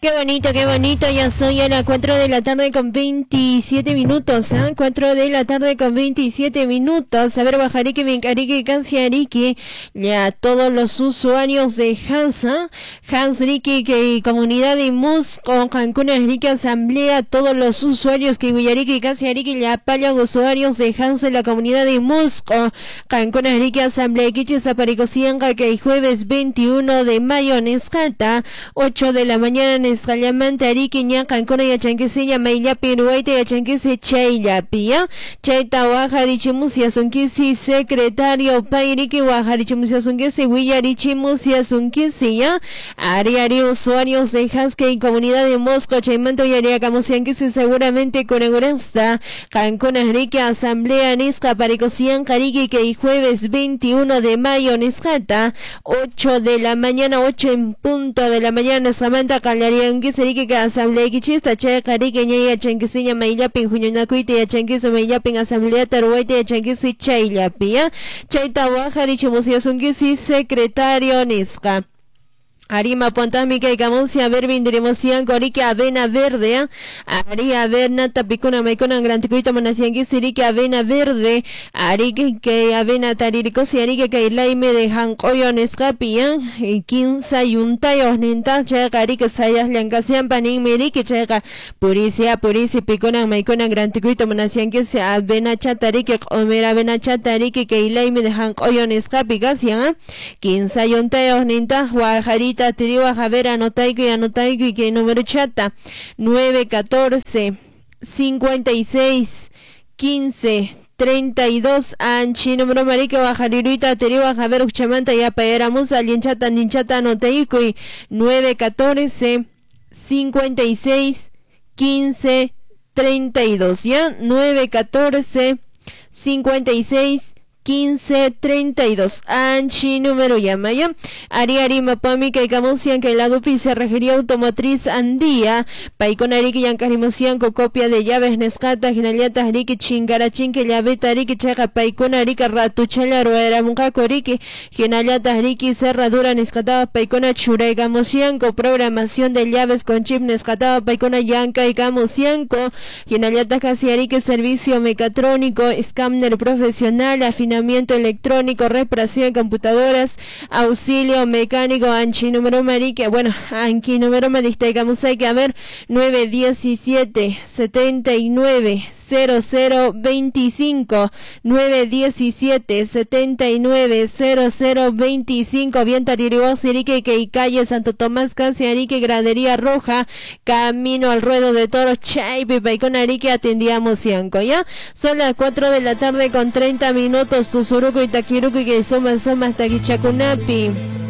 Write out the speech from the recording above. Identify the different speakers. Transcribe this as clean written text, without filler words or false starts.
Speaker 1: Qué bonito, ya son ya las 4 de la tarde con 27 minutos, ¿ah? 4 de la tarde con 27 minutos. A ver, Bajariki, Mincariki, Canciariki, ya todos los usuarios de Hans, ¿ah? Hans Riki, que comunidad de Musco, Cancún, Ricky, Asamblea, todos los usuarios que Guillariki, Canciariki, ya paya usuarios de Hans de la comunidad de Musco, Cancún, Ricky, Asamblea, Quiche, Zaparicosianga, que el jueves 21 de mayo, Nescata, 8 de la mañana, Nescallamanta, Ariki, Ñancancuna, Yachanquisiña, Mayllapi, Uruguayta, Yachanquisi, Chayllapi, ¿ya? Chayta, Guajarichimusia, Sunquisi, secretario, Pairiki, Guajarichimusia, Sunquisi, Huillarichimusia, Sunquisi, ¿ya? Ari, Ari, usuarios de Haske y comunidad de Mosco, Chaymanto, y Ariacamusianquisi, seguramente con Agurasta, Cancún, Arique, Asamblea, Nisca, Paricosian, Cariqui, que el jueves 21 de mayo, Niscata, 8 de la mañana, 8 en punto de la mañana, Samantha Calarianquisi, que asamblea kichista, chay carique, ñaya chanquisiña, mayllapin, juñunacuite, yachanquisi, mayllapin, asamblea, taruaite, yachanquisi, chayllapi, ¿ya? Chayta, guajarichimusiasunquisi, secretario Nisca. Arima Pontami que Camuncia Verbindiremosian Corique Avena Verde, Ari Avena Tapicuna Maicona Granticuito Manasianguis Sirique Avena Verde, Ari que Avena Tariricos y Ari que Laime de Jancoyo Nescapian, Quinza Yuntayo Nenta Checa Arique Sayas Lancasian Panin Mirique Checa Puricia Purici Picona Maicona Granticuito Manasianguis Avena Chatarique Omera Avena Chatarique que Laime de Jancoyo Nescapi Gasian, Quinza Yuntayo Nenta Guajarita Tiriwa Javier, anotaico y anotaico y que número chata 9 14 56 15 32 anchi número marica bajariruita teriwa Javier uchamanta ya paeramos alguien chata ninchata anotaico y 9 14 56 15 32 ya 9 14 56 15 32 anchi número llama ya Ari Ari mapami que camusian que la dupi cerrajería automotriz Andía paikon ariki yankarimosian copia de llaves nescata hinallata ariki chingarachinque llaveta ariki chaqa paikon arika ratuchala rueramunqaku ariki hinallata ariki cerradura nescata paikona churaykamosianco programación de llaves con chip nescata paikona yankaykamosianco hinallata casi ariki servicio mecatrónico escáner profesional afinamiento electrónico, reparación de computadoras, auxilio mecánico, anchi número marique, bueno, anki número madistaykamusayki, hay que a ver, 9 17 79 00 25, 9 17 79 00 25, bien taririhuas, Irique, que calle Santo Tomás, casi Arique, Gradería Roja, camino al ruedo de toros, Chaypi, Paicón Arique, atendíamos Yanco, ¿ya? Son las 4 de la tarde con 30 minutos, Tusuruco y Taquiruco y que suma suma hasta Quichacunapi.